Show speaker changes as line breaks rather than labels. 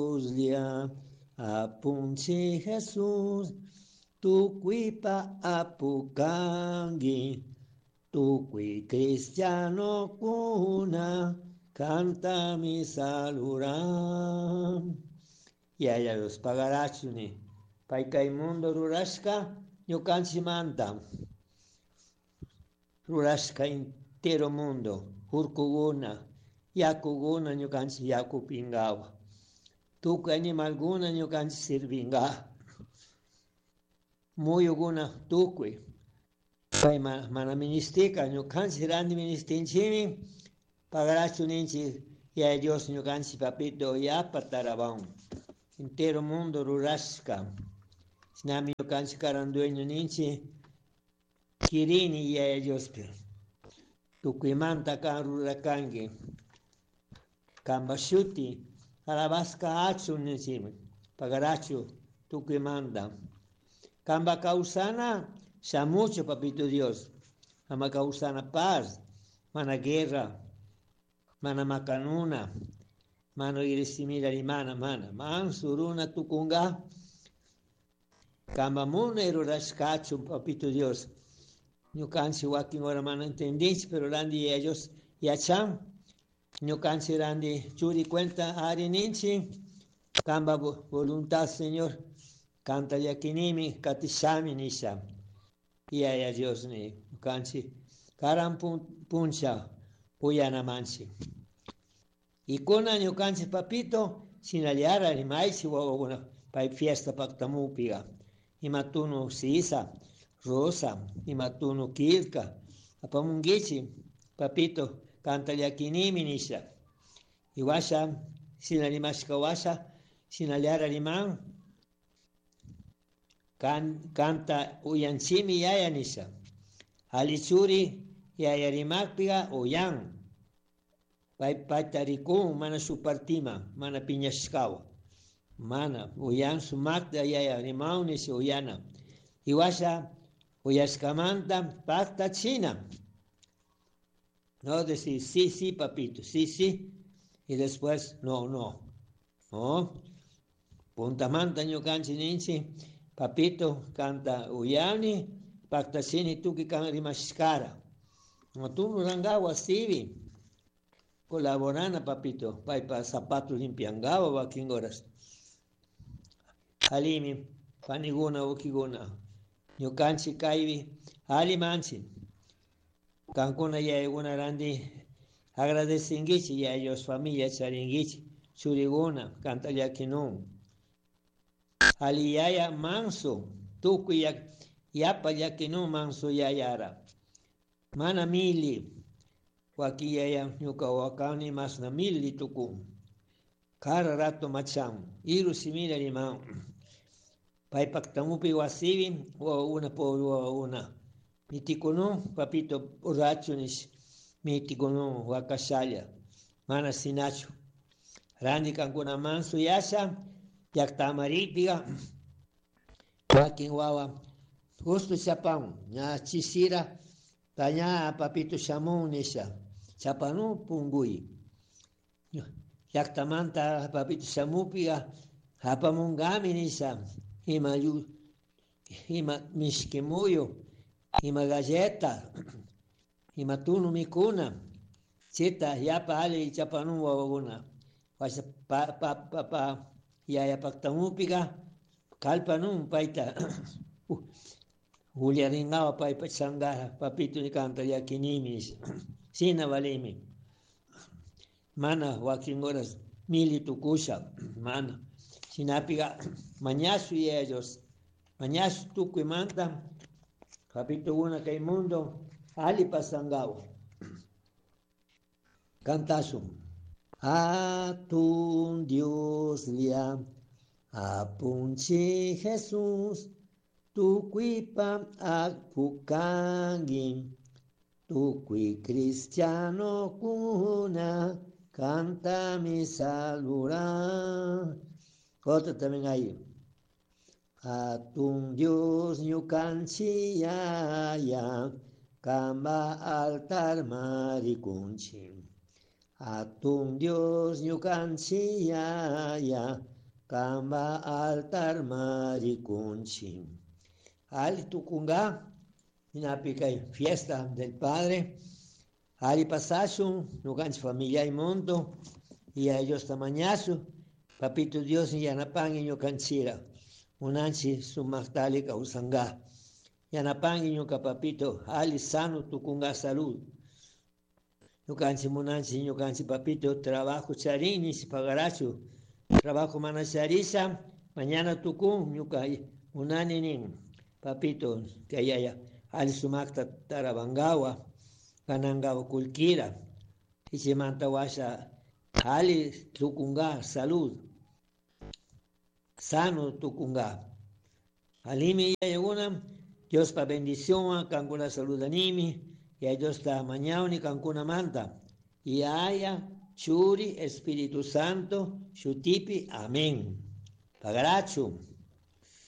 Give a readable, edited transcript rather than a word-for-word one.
Dioslla, Apunchi Jesús, tukuipa apu kanki, tukuy cristianokuna, kantami saluran. Yaya Dios pagarachuni, pay kay mundo rurashka ñukanchikmanta, rurashka entero mundo, urkukuna, yakukuna ñukanchik yaku upinkawa, tukuy animalkuna ñukanchik sirvinga, muyukuna tukuy, pay mana ministika ñukanchik ranti ministinchikmi, pagarachu ninchik Yaya Dios ñukanchik papito yapa tarawan, entero mundo rurashka, shinami ñukanchik karan dueño ninchik, kirini Yaya Diospi, tukuymanta kan rurakanki, kanpa shuti alabashka achun ninchikmi, pagarachu tukuymanta, kanpa kawsana shamuchu papito Dios, ama kawsana paz, mana guerra, mana makanuna, mana rimana rimana, mana, manso runa tukunga, kanpa munay rurashkachun papito Dios, ñukanchik wakin hora mana entendinchik, pero ranti Yaya Dios yachan, ñukanchik ranti churi cuenta ari ninchik, kanpa voluntad Señor, kanta llakinimi katishami nisha, Yaya Dios ni ñukanchik karan puncha uyanamanchik. Y kuna ñukanchik papito, shinallara rimaychik wawakuna pay fiesta paktamupiga, ima tunu sisa, rosa, ima tunu killka, apamunkichik papito, kanta llakinimi nisha. Y washa, shina rimashka washa, shinallara riman, kanta uyanchimi yaya nisha. Ali churi yaya rimakpiga uyan, pay payta rikun mana shuk partima, mana piñashkawa, mana uyan sumakta yaya rimaw nisha uyana. Y washa uyashkamanta paktachina. No decir sí, sí, papito, sí, sí, y después no, no. No. Puntamanta ñukanchik ninchik, papito kanta uyani, paktachini tukuy kan rimashkara. No tunu rangawa sibi, colaborana papito, paypa zapato limpiangawa wakin horas. Alimi, paniguna, ukiguna, ñukanchik kaypi alli manchik. Kankuna yayakuna ranti agradecinkichik Yaya Dios familia charinkichik, churikuna kanta llakinun. Ali yaya manso, tukuy yapa llakinun manso yayara. Mana mili, wakin yaya ñuka wakani masna mili tukun. Kara rato machan, iru simila riman. Paypak tamupi wasipi, wawakuna pobre wawakuna. Mitikunun, papito borracho nish, mitikunun wakashalla, mana sinachu. Ranti kankuna manso yasha, llaktamarikpiga, wakin wawa, justo chapan, ña chisira, ta ña papito shamun nisha, chapanu punguy. Llaktamanta papito shamupiga, apamungami nisha, ima yu, ima mishki muyu, ima galleta, ima tunu mikuna, chita yapa alli chapanun wawakuna. Washa pa, pa, pa, pa, yaya paktamupiga, kalpanun payta, ullaringawa paypa changara, papito ni kanta llakinimi nisha, shina valimi. Mana wakin horas mili tukusha, mana. Shinapiga mañashu Yaya Dios, mañashu tukuymanta, papitokuna kay mundo alli pasangawa. Cantashun. Atun Dioslla, Apunchi Jesús, tukuypa apu kanki, tukuy cristianokuna, kantami saluran. Otro también ahí. Atun Dios ñukanchik yaya, kamba altar marikunchik. Atun Dios ñukanchik yaya, Kamba altar marikunchi. Ali tukunga, kay fiesta del Padre. Ali pasashun, ñukanchik familia y mundo, y a ellos tamañasu, Papito Dios yanapangi ñukanchira, munanchi sumaktali kawsanga. Yanapangi ñuka papito, ali sano tukunga salud. Ñukanchik munanchik ñukanchik papito trabajo charini pagarachu. Trabajo mana charisha, mañana tukun ñuka munani nin. Papito, kayaya, ali sumakta tarabangawa, ganangawa kullkira. Ichimanta washa ali tukunga salud. Sano tukunga. Alimi yayaguna, Dios pa bendición, kankuna saludanimi, y Dios ta mañauni kankuna manta. Y haya Churi, Espíritu Santo, Shutipi, amén. Pagarachu.